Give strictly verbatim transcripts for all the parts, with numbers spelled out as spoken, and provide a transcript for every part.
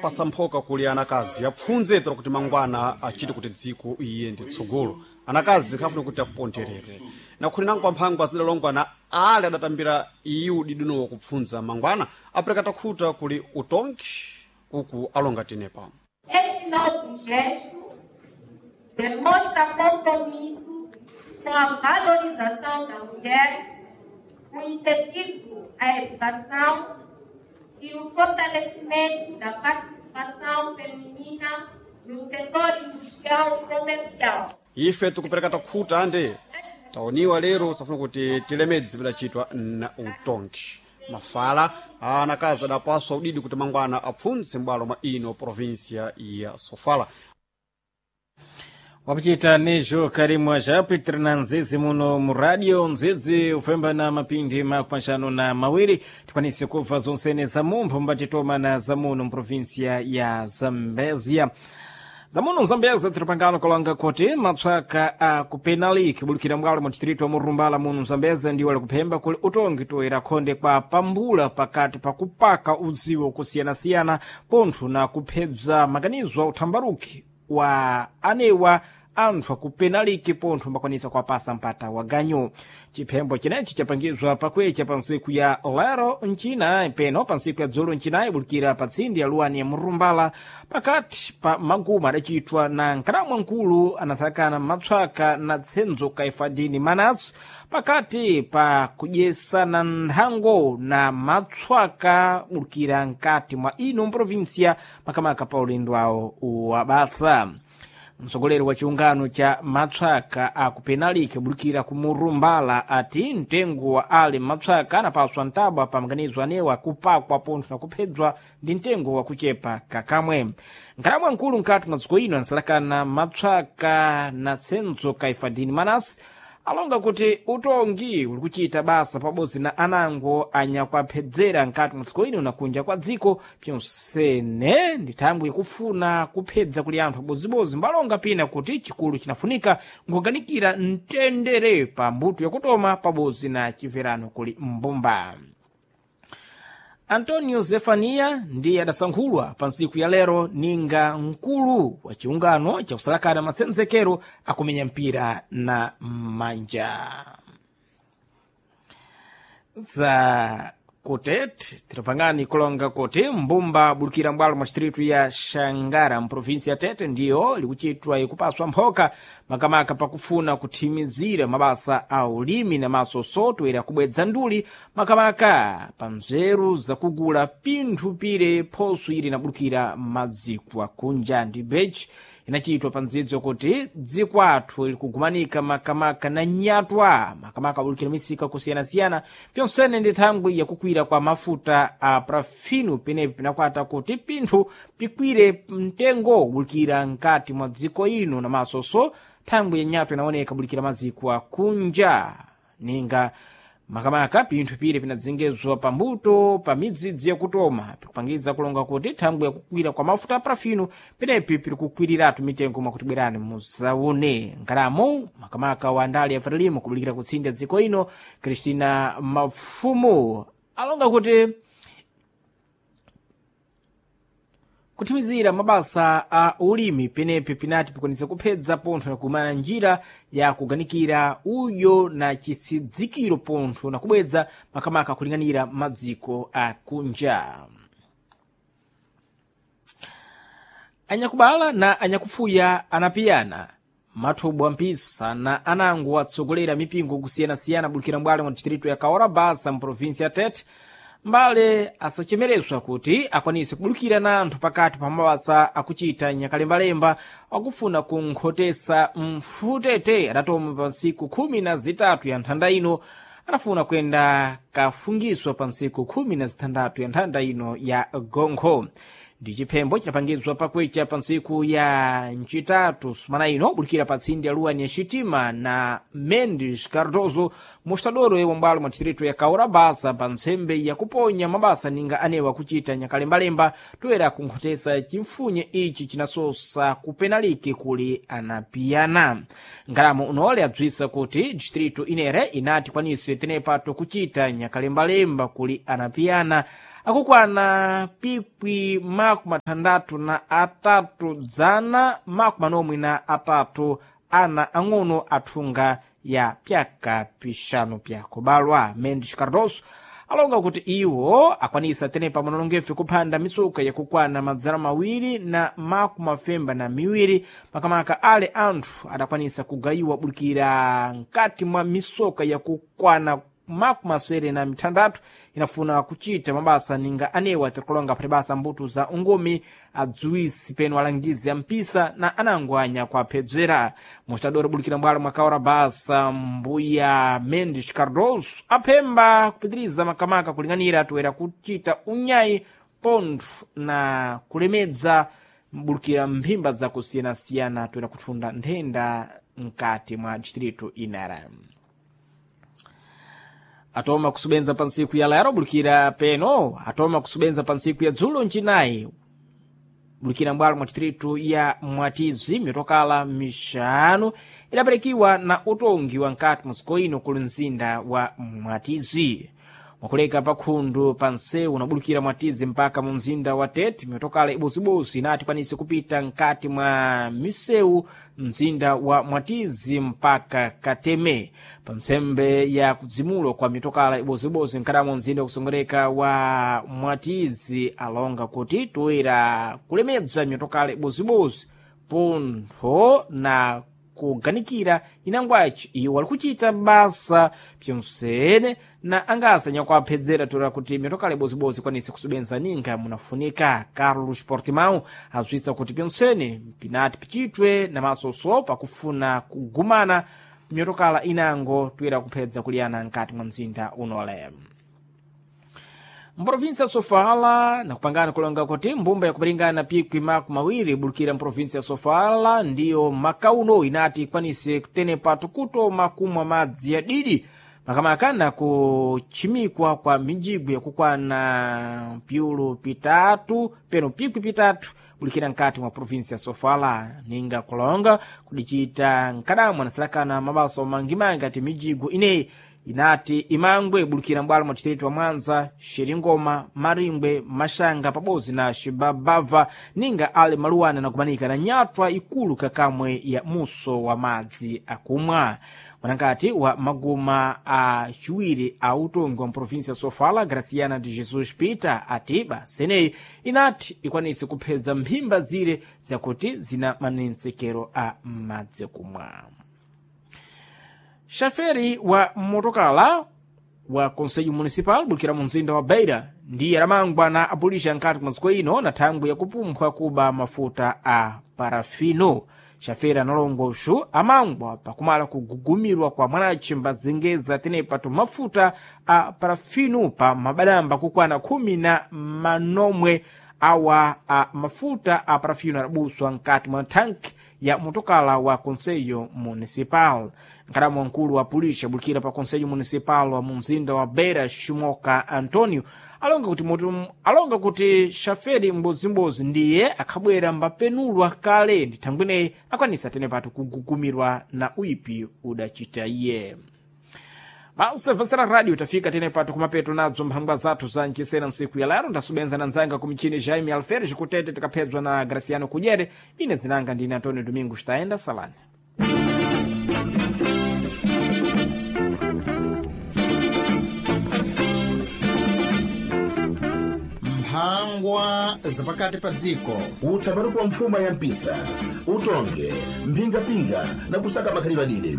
Pasa mphoka kuli anakazi apfundze tora kuti mangwana achite kuti dziko iye ndi tsogolo. Anakazi khafuna kuti aponderere nakhuli nango pamphangwa zidalongwana ale adatambira iyu didunowo kupfundza mangwana apereka takhuta kuli utongi uku alonga tenepa. Este nobre gesto demonstra compromisso com a valorização da mulher, o incentivo à educação e o fortalecimento da participação feminina no setor industrial e comercial. Ife tikupereka takhuta ande taoniwa lero safuna kuti tilemedzi pidachitwa na utongi mafala anakazi adapaswa udidi kuti mangwana apfundze m'bwalo mwa ino provinsia ya Sofala. Wakuchita nejo karimwa Japiter na nzizi muno mu radio nzizi ufemba na mapindi makupaxano na mawiri tikwanise kubva zonsene za mumpho mbatitoma na za muno mprovinsia ya Zambezia. Zamuno Zambezia tiripangano kalanga kuti matswaka a kupenaliki bulukira mbwalo mu distrito wa Murumbala muno Zambezia ndiwo alikuphemba kuli utongi toera khonde kwa pambula pakati pa kupaka udziwo kusiyanasiyana pontho na kuphedza maganizo a uthambaruki wa anewa anthu akupenaliki pontho mbakwanisa kuwapasa mpata wa ganyu. Chiphembo chinechi chapangizwa pakwecha pa ntsiku ya lero ncinayi peno pa ntsiku ya dzulo ncinayi bulukira pa tsindi ya luwani ya Murumbala pakati pa maguma adachitwa na nkalamwa nkulu anasakana matswaka na tsenzo Kaifadini Manasu pakati pa kudyesana nthango na matswaka bulukira nkati mwa ino mprovinsia makamaka pa ulendo awo wabasa. Mtsogoleri wa chiungano cha matswaka akupenaliki bulukira ku Murumbala ati mtengo wa ali matswaka anapaswa ntabwa pa maganizo anewa kupakwa pontho na kuphedzwa ndi mtengo wa kuchepa kakamwe. Nkhalamwa nkulu nkati mwa dziko ino anasalakana matswaka na tsenzo Kaifadini Manasi alonga kuti utongi uli kuchita basa pabodzi na anango anyakuaphedzera nkati mwa dziko ino na kunja kwa dziko pyonsene ndi thangwi ikufuna kuphedza kuli anthu abozibozi mbalonga pina kuti chikulu chinafunika nkuganikira mtendere pa mbuto yakutoma pabodzi na chimverano kuli mbumba. Antonio Zefania ndiye adasankhulwa pa ntsiku ya lero ninga mkulu wa chiungano chakusalakana matsenzekero akumenya mpira na manja. Za kutete tiripangani kulonga kuti mbumba bulukira mbwalo mwa distritu ya Xangara mprovinsi ya Tete ndiyo likuchitwa ikupaswa mphoka makamaka pakufuna kuthimizira mabasa a ulimi na maso soto kubwedza nduli makamaka pa nzeru zakugula pinthu pire phoso ili inabulukira madziko akunja ndi bechi inachitwa pa ndzidzo kuti dziko athu likugumanika makamaka na nyatwa makamaka abulukira misika kusiyanasiyana pyonsene ndi thangwi yakukwira kwa mafuta a parafino penepo pinakwata kuti pinthu pikwire mtengo kubulukira nkati mwa dziko ino namasonso thangwi ya nyatwa inaoneka bulukira maziko akunja ninga makamaka pinthu pire pinadzengezwa pambuto pa midzidzi yakutoma pikupangiza kulonga kuti thangwi yakukwira kwa mafuta a parafino penepi piri kukwiriratu mitengo mwakuti bwerani muzaone nkalamo makamaka wa ndale ya Frelimo kubulikira kutsinda dziko ino Cristina Mafumu alonga kuti kuthimizira mabasa a ulimi penepi pinati pikwanisa kuphedza pontho na kumana njira ya kuganikira udyo na chisidzikiro pontho na kubwedza makamaka kulinganira madziko akunja. Anyakubala na anyakupfuya anapiyana mathobwa mpisa na anango atsogolera mipingo kusiyanasiyana bulukira mbwalo mwa distritu ya Kaorabasa mprovinsi ya Tete mbale asachemereswa kuti akwanise kubulukira na anthu pakati pa mabasa akuchita nyakalembalemba akufuna kunkhotesa mfutete adatoma pa ntsiku khumi na zitatu ya nthanda ino anafuna kuyenda kafungiswa pa ntsiku khumi na zitandatu ya nthanda ino ya gonkho. Ndi chiphembo chidapangizwa pakwecha pa ntsiku ya ncitatu sumana ino bulukira pa tsindi ya luwani ya Xitima na Mendes Cardoso mostadoro wa mbwalo mwa distritu ya Kaurabasa pa ntsembe yakuponya mabasa ninga anewa kuchita nyakalembalemba toera kunkhotesa chimfunye ichi chinasosa kupenaliki kuli anapiyana. Ngalamo unole adzwisa kuti distritu inere inati kwanise tenepato kuchita nyakalembalemba kuli anapiyana. Akukwana pikwi makumi athandathu na atatu dzana makumi anomwe na atatu ana ang'ono athunga ya pyaka pixanu pyakubalwa. Mendes Cardoso alonga kuti iwo akwanisa tenepa manonongefe kuphanda mitsuka yakukwana madzana mawiri na makumi mafemba na miwiri, makamaka ale anthu adakwanisa kugayiwa bulikira mkati mwa misoka yakukwana makumi asere na mithandathu inafuna kuchita mabasa ninga anewa tirikulonga phati basa mbuto za ungomi, adziwisi peno alangizi a mpisa na anangwanya kuaphedzera. Mustadori bulikira mbwalo mwakaora basa mbuya Mendes Cardoso aphemba kupitiriza makamaka kulinganira toera kuchita unyayi pontho na kulemedza mbulikira mphimba zakusiyanasiyana toera kutfunda nthenda mkati mwa distrito inara. Atoma kusubenza pa ntsiku ya lero bulikira peno atoma kusubenza pa ntsiku ya dzulo ncinayi bulikira mbwalo mwa distritu ya Mwatizi mitokala mixanu idaperekiwa na utongi wa nkati mwa dziko ino kuli mzinda wa Mwatizi. Mwakuleka pa khundu pa nsewu unabulukira Mwatizi mpaka mu mzinda wa Tete, mitokala ibozibozi inati kwanise kupita nkati mwa misewu mzinda wa Mwatizi mpaka Kateme. Pa ntsembe ya kudzimulwa kwa mitokala ibozibozi nkadamo mzinda wakusongereka wa Mwatizi alonga kuti toera kulemedza mitokala ibozibozi pontho na kuganikira inangwaci iwo ali kuchita basa pyonsene na angasa nyakuaphedzera toera kuti mitokala ibozibozi ikwanise kusubenza ninga munafunika. Carlos Portimão azwisa kuti pyonsene pinati pichitwe na masoso pakufuna kugumana mitokala inango toera kuphedza kuliyana nkati mwa mzinda unole. Mprovinsi ya Sofala nakupangana kulonga kuti mbumba yakupiringana pikwi makumi mawiri ibulukira mprovinsi ya Sofala ndiyo makauno inati ikwanise kutenepa tukutoma kumwa madzi ya didi, makamaka na kuchimikwa kwa mijigo yakukwana piulu pitatu peno pikwi pitatu bulikira nkati mwa provinsi ya Sofala. Ninga kulonga kudichita nkadamwa nasalakana mabaso mangimangi ati mijigo ineyi inati imangwe ibulukira mbwalo mwa distritu wa Mwanza, Xiringoma, Maringwe, Maxanga pabodzi na Xibabava ninga ali maluwana nakumanika na nyatwa ikulu kakamwe ya muso wa madzi akumwa. Mwanangati wa maguma a ciwiri a utongi wa mprovinsi ya Sofala, Graciana de Jesus Peter, ati baseneyi inati ikwanise kuphedza mphimba zire zakuti zina manensekero a madzi akumwa. Xaferi wa motokala wa Conselho Municipal bulikira mu mzinda wa Beira ndiye adamangwa na apulisha nkati mwa dziko ino na thangwi yakupumpha kuba mafuta a parafino. Xaferi analongwa uxu amangwa pakumala kugugumirwa kwa mwanaci mbazengeza tenepa tumafuta a parafino pa mabadamba kukwana khumi na manomwe awa a mafuta a parafino adabuswa nkati mwa thanki ya motokala wa Conselho Municipal. Nkadamu wamkulu wa pulisha bulikira pa Conselho Municipal wa mu mzinda wa Beira, Shimoka Antonio, alonga kuti mutu alonga kuti xaferi mbodzimbozi ndiye akhabwera mbapenulwa kale ndi thangwineyi akwanisa tenepatu kugugumirwa na uipi udachita iye. Vasera radio tafika tenepato kumapeto nadzo mphangwa zathu za mchisena ntsiku ya lero. Ndasubenza na nzanga kumichini Jaime Alferes kutete tikaphedzwa na Graciano Kudyere. Ine zinanga ndine Antonio Domingos Taenda Salani. Mphangwa zapakati pa dziko. Utsamani kwa mfuma ya mpisa, utonge mphingapinga na kusaka makhalidwe adide.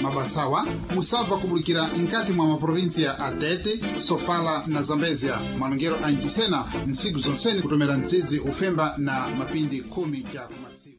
Mabasawa musabva kubulikira nkati mwa maprovinsiya a Tete, Sofala na Zambezia. Malongero a mchisena ntsiku zonsene kutomera mdzidzi ufemba na mapindi khumi ja kumasiku.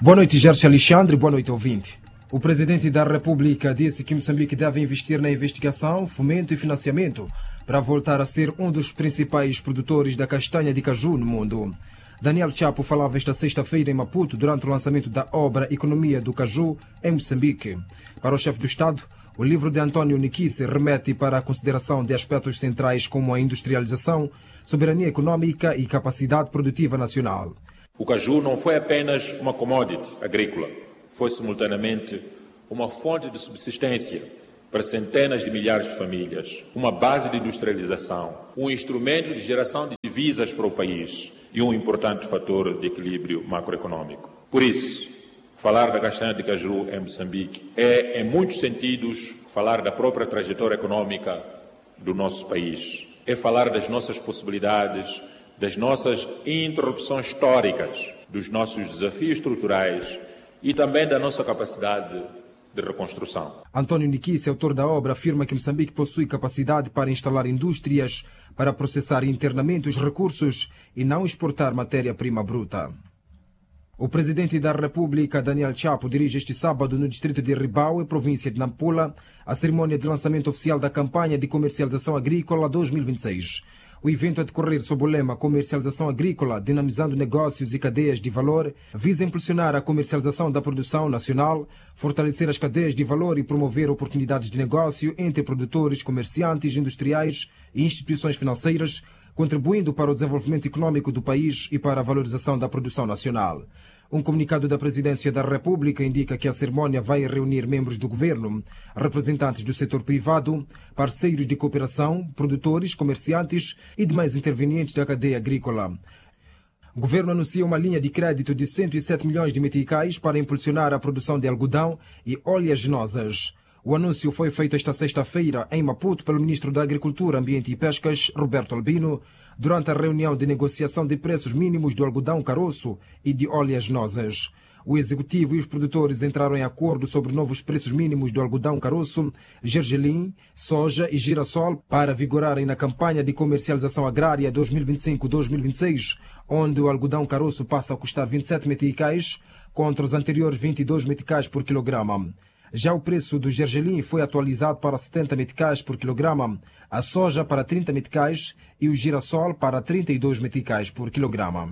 Boa noite, Gerson Alexandre. Boa noite, ouvinte. O presidente da República disse que Moçambique deve investir na investigação, fomento e financiamento para voltar a ser um dos principais produtores da castanha de caju no mundo. Daniel Chapo falava esta sexta-feira em Maputo durante o lançamento da obra Economia do Caju em Moçambique. Para o chefe do Estado, o livro de António Niquice remete para a consideração de aspectos centrais como a industrialização, soberania econômica e capacidade produtiva nacional. O caju não foi apenas uma commodity agrícola, foi simultaneamente uma fonte de subsistência para para centenas de milhares de famílias, uma base de industrialização, um instrumento de geração de divisas para o país e um importante fator de equilíbrio macroeconômico. Por isso, falar da castanha de caju em Moçambique é, em muitos sentidos, falar da própria trajetória econômica do nosso país. É falar das nossas possibilidades, das nossas interrupções históricas, dos nossos desafios estruturais e também da nossa capacidade de reconstrução. António Niquice, autor da obra, afirma que Moçambique possui capacidade para instalar indústrias, para processar internamente os recursos e não exportar matéria-prima bruta. O presidente da República, Daniel Chapo, dirige este sábado no distrito de Ribáuè, província de Nampula, a cerimônia de lançamento oficial da campanha de comercialização agrícola dois mil e vinte e seis. O evento a decorrer sob o lema Comercialização Agrícola, dinamizando negócios e cadeias de valor, visa impulsionar a comercialização da produção nacional, fortalecer as cadeias de valor e promover oportunidades de negócio entre produtores, comerciantes, industriais e instituições financeiras, contribuindo para o desenvolvimento econômico do país e para a valorização da produção nacional. Um comunicado da Presidência da República indica que a cerimônia vai reunir membros do governo, representantes do setor privado, parceiros de cooperação, produtores, comerciantes e demais intervenientes da cadeia agrícola. O governo anuncia uma linha de crédito de cento e sete milhões de meticais para impulsionar a produção de algodão e oleaginosas. O anúncio foi feito esta sexta-feira em Maputo pelo ministro da Agricultura, Ambiente e Pescas, Roberto Albino, durante a reunião de negociação de preços mínimos do algodão caroço e de oleaginosas. O executivo e os produtores entraram em acordo sobre novos preços mínimos do algodão caroço, gergelim, soja e girassol para vigorarem na campanha de comercialização agrária dois mil e vinte e cinco dois mil e vinte e seis, onde o algodão caroço passa a custar vinte e sete meticais contra os anteriores vinte e dois meticais por quilograma. Já o preço do gergelim foi atualizado para setenta meticais por quilograma, a soja para trinta meticais e o girassol para trinta e dois meticais por quilograma.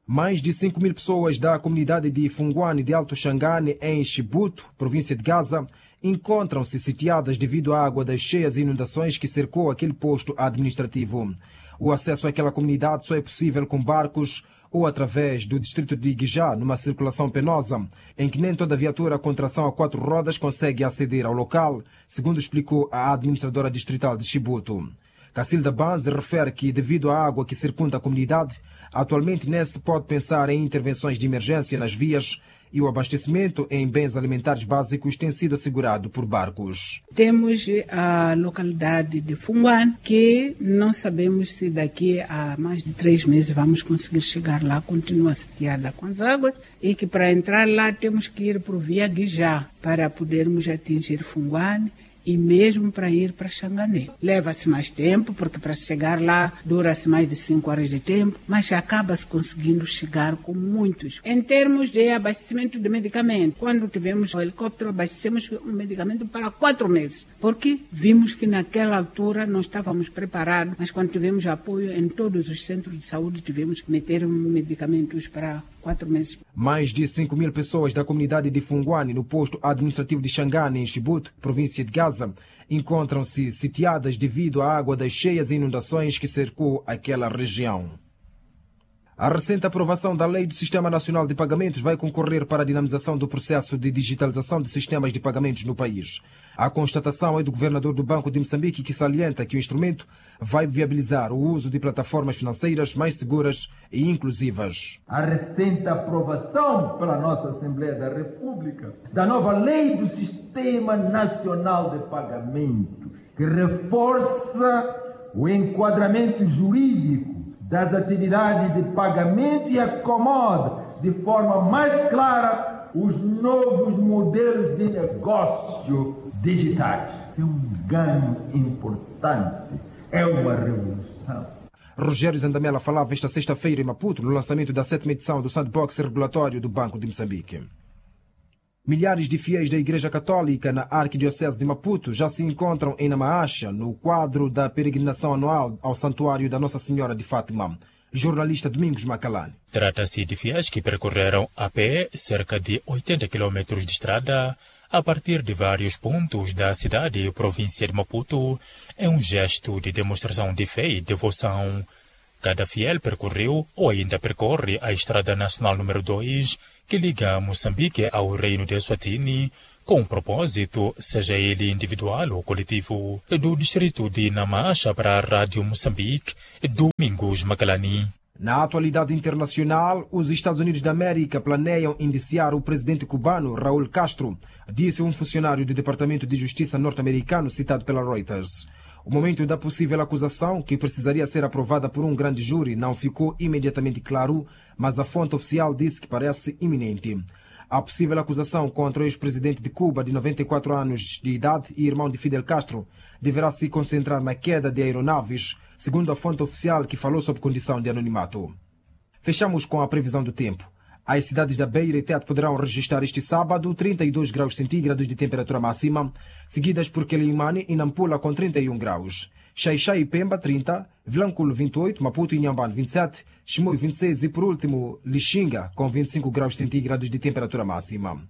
Mais de cinco mil pessoas da comunidade de Funguane de Alto Xangane, em Chibuto, província de Gaza, encontram-se sitiadas devido à água das cheias e inundações que cercou aquele posto administrativo. O acesso àquela comunidade só é possível com barcos ou através do distrito de Guijá, numa circulação penosa, em que nem toda viatura com tração a quatro rodas consegue aceder ao local, segundo explicou a administradora distrital de Chibuto. Cacilda Banz refere que, devido à água que circunda a comunidade, atualmente nem se pode pensar em intervenções de emergência nas vias e o abastecimento em bens alimentares básicos tem sido assegurado por barcos. Temos a localidade de Funguane, que não sabemos se daqui a mais de três meses vamos conseguir chegar lá, continua sitiada com as águas, e que para entrar lá temos que ir por via Guijá para podermos atingir Funguane e mesmo para ir para Xangané. Leva-se mais tempo, porque para chegar lá dura-se mais de cinco horas de tempo, mas acaba-se conseguindo chegar com muitos. Em termos de abastecimento de medicamento, quando tivemos o helicóptero, abastecemos um medicamento para quatro meses, porque vimos que naquela altura não estávamos preparados, mas quando tivemos apoio em todos os centros de saúde, tivemos que meter medicamentos para quatro meses. Mais de cinco mil pessoas da comunidade de Funguane, no posto administrativo de Xangane, em Chibuto, província de Gaza, encontram-se sitiadas devido à água das cheias e inundações que cercou aquela região. A recente aprovação da Lei do Sistema Nacional de Pagamentos vai concorrer para a dinamização do processo de digitalização de sistemas de pagamentos no país. A constatação é do governador do Banco de Moçambique, que salienta que o instrumento vai viabilizar o uso de plataformas financeiras mais seguras e inclusivas. A recente aprovação pela nossa Assembleia da República da nova Lei do Sistema Nacional de Pagamentos, que reforça o enquadramento jurídico das atividades de pagamento e acomoda de forma mais clara os novos modelos de negócio digitais. É um ganho importante, é uma revolução. Rogério Zandamela falava esta sexta-feira em Maputo, no lançamento da sétima edição do Sandbox Regulatório do Banco de Moçambique. Milhares de fiéis da Igreja Católica na Arquidiocese de Maputo já se encontram em Namaacha, no quadro da peregrinação anual ao Santuário da Nossa Senhora de Fátima. Jornalista Domingos Macalane. Trata-se de fiéis que percorreram a pé cerca de oitenta quilômetros de estrada a partir de vários pontos da cidade e província de Maputo, em um gesto de demonstração de fé e devoção. Cada fiel percorreu ou ainda percorre a Estrada Nacional número dois, que liga Moçambique ao Reino de Eswatini, com um propósito, seja ele individual ou coletivo. Do distrito de Namacha para a Rádio Moçambique, Domingos Macalani. Na atualidade internacional, os Estados Unidos da América planeiam indiciar o presidente cubano Raul Castro, disse um funcionário do Departamento de Justiça norte-americano citado pela Reuters. O momento da possível acusação, que precisaria ser aprovada por um grande júri, não ficou imediatamente claro, mas a fonte oficial disse que parece iminente. A possível acusação contra o ex-presidente de Cuba, de noventa e quatro anos de idade e irmão de Fidel Castro, deverá se concentrar na queda de aeronaves, segundo a fonte oficial que falou sob condição de anonimato. Fechamos com a previsão do tempo. As cidades da Beira e Tete poderão registrar este sábado trinta e dois graus centígrados de temperatura máxima, seguidas por Quelimane e Nampula com trinta e um graus. Xaixai e Pemba trinta, Vilanculo vinte e oito, Maputo e Inhambane vinte e sete, Chimoio vinte e seis e, por último, Lixinga com vinte e cinco graus centígrados de temperatura máxima.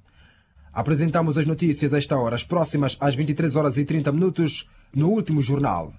Apresentamos as notícias a esta hora, as próximas às vinte e três horas e trinta minutos, no último jornal.